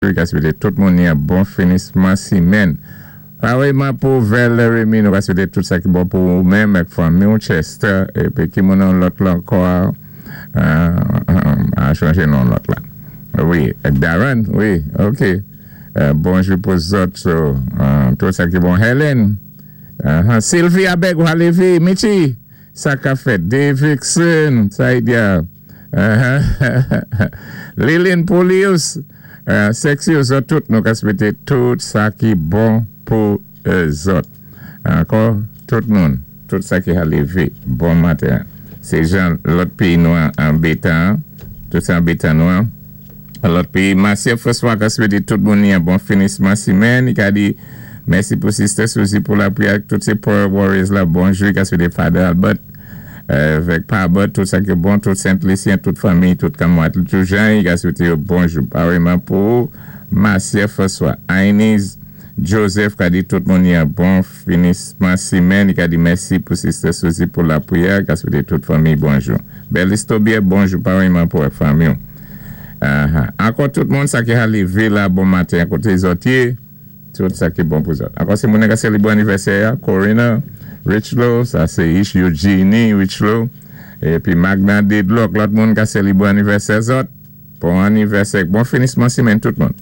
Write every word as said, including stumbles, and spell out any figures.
I ka swété tout moun ni an bon finisman simenn. Pawéyman pou Valerie, nou ka swété tout sa ki bon pou ou menm ak fanmi ou Chester, épi ki moun an lòt la ankò, a chanjé non lòt la. Wi, Darren, wi, ok. Bonjou pou zòt, tout sa ki bon. Helen, Sylvia Beg, Walevi, Michi, sa ka fèt, Davidson, Saidia, Lilin Poulius, Sexy ou zòt tout, nou ka swété tout sa ki bon pou zòt. Ankò, tout moun, tout sa ki lévé, bon maten. Sé jan lòt péyi nou anbétan, tout sa anbétan nou an. Lòt péyi, Marcia François ka swété tout moun ni an bon finisman simenn. I ka di, mèsi pou Sister Suzy pou lapriyè, tout sé Prayer Warriors la, bonjou, i ka swété Father Albert, vèk Pa Albert, tout sa ki bon, tout Saint-Lucien, tout fanmi, tout kamwat, tout jan, i ka swété bonjou. Paréyman pou Marcia François, Ainiz Joseph ka di tout moun ni an bon finisman simenn, i ka di mèsi pou Sister Suzy pou lapriyè, ka swété tout fanmi bonjou. Belis Tobier, bonjou, paréyman pou fanmi. Ankò tout moun sa ki a lévé la bon maten koté zòt yé, tout sa ki bon pou zòt. Ankò sé moun ka sélébré anivèsè, Corina Richlow, sa sé Ish Eugenie Richlow, épi Magna Dedlock, lòt moun ka sélébré anivèsè zòt, bon anivèsè, bon finisman simenn tout moun.